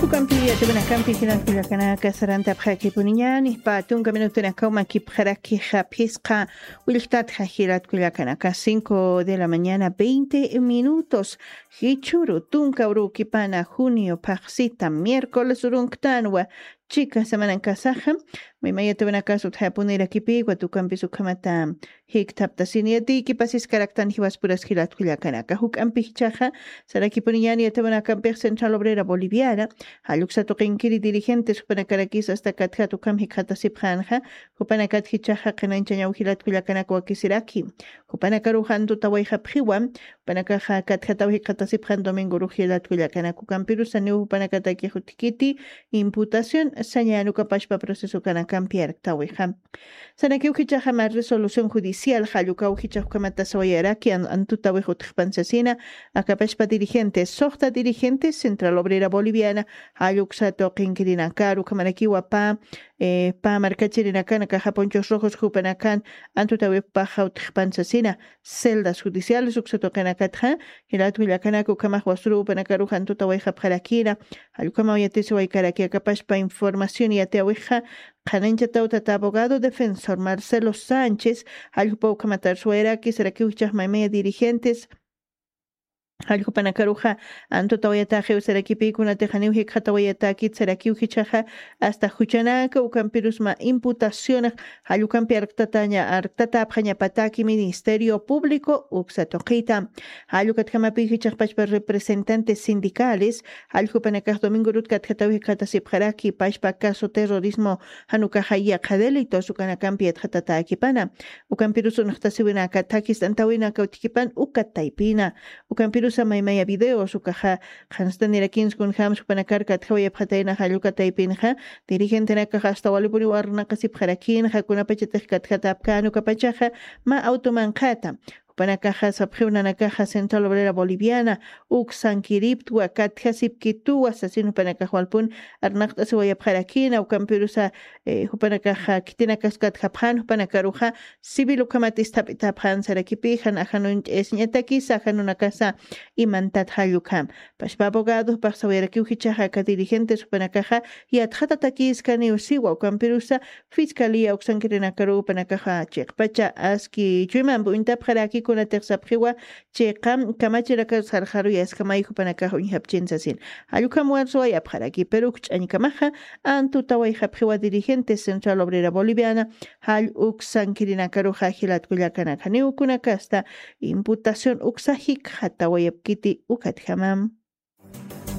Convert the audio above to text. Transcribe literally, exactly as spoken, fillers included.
Ukampi yatawanakampi jilatkullakanaka sarantapxakipuniñani patunka minutunakaw makipxarakixaphisqa. Willktatxa jilatkullakanaka cinco de la mañana veinte minutos. Jichhuru tunka urukipana junio phaxsita miércoles urunktanwa. Chika semanan kasaxa maymayatawanakasu utjapunirakipiwa tukampis ukhamata. Jikthaptasiniyatiki pasiskaraktan jiwaspuraskilatkullakanaka juk'ampikichaxa. Sarakipuniñani yatawanakampix central obrera boliviana. Jalluksatuqinkiri dirigentes jupanakarakis asta katjat ukham jikxatasipxanxa. Jupanakatkichaxa qhanañchañaw jilatkullakanaka wakisiraki. Jupanakaruxan tutawayxapxiwa. Jupanakaxa katjataw jikxatasipxan domingorux jilatkullakanaka ukampirusaniw jupanakatakix utjkiti imputación sañanukapashpa proceso kanakampi arktawixa. Sanakiw jichaxama resolución judicial jallukaw jichaxkamata sawayaraki antutawix utjpansasina. Akapashpa dirigentes soxta dirigentes central obrera boliviana. Jalluksatuqinkirinakaru kamarakiwa pa pa markachirinakana kaxapunchus rojos jupanakan antutawixpaxa utjpansasina. Celdas judiciales uksatuqinakatxa. Jilatkullakanaka ukhamax wasuru jupanakaruxan tutawayxapxarakina. Jallukamaw yatisiwaykaraki akapashpa información yatiyawixa. Qhananchataw tata abogado defensor marcelo sánchez. Jalljupa ukhamatarsuwayraki sarakiw jichaxmaymaya dirigentes. Jalljupanakaruxa antutawayataxiw sarakipikunatixaniw jikxatawayatakit sarakiw jichaxa. Asta juchanaka ukampirusma imputacionax jallukampi arktataña arktatapxañapataki ministerio público uksatuqita. Jallukatjamapi jichaxpachpa representantes sindicales. Jalljupanakax domingorut katjataw jikxatasipxaraki pachpa caso terrorismo janukaxa yaqha delitos ukanakampi yatxatatakipana. Ukampirus unxtasiwinaka thakist'antawinaka utjikipan uka taypina. Ukampirusa maymaya videos ukaxa qhanstanirakinskunjams jupanakarka atjawayapxataynaxa lluka taypinxa. Dirigentenakaxa asta walipuniw arnaqasipxarakinxa kunapachatix katjatapkän ukapachaxa. Mä awtumanqata. Jupanakaxa sapxiwnanakaxa central obrera boliviana uksankiriptwa katjasipkituwa sasin jupanakax walpun arnaqt'asiwayapxarakina ukampirusa. Jupanakaxa khitinakas katjapxan jupanakaruxa civil ukhamat isthap'itapxan sarakipixa najanun ch'ayasiñatakisa janunakasa. Imantat jallukam. Pashpa abogadopax sawayarakiw jichaxa aka dirigentes jupanakaxa yatxatatakiskaniw siwa ukampirusa. Fiscalía uksankirinakaruw jupanakaxa chiqpacha aski chuymampi uñtapxaraki kunatix sapxiwa. Chiqa kamachirakaru sarxaruy askamay jupanakax uñjapchin sasin. Jallukam warsuwayapxaraki pero ukch'añkamaxa antutawayxapxiwa dirigentes central obrera boliviana. Jall uksankirinakaruxa jilatkullakanakaniw kunakasta imputación uksa jikxatawayapkiti ukatjamam.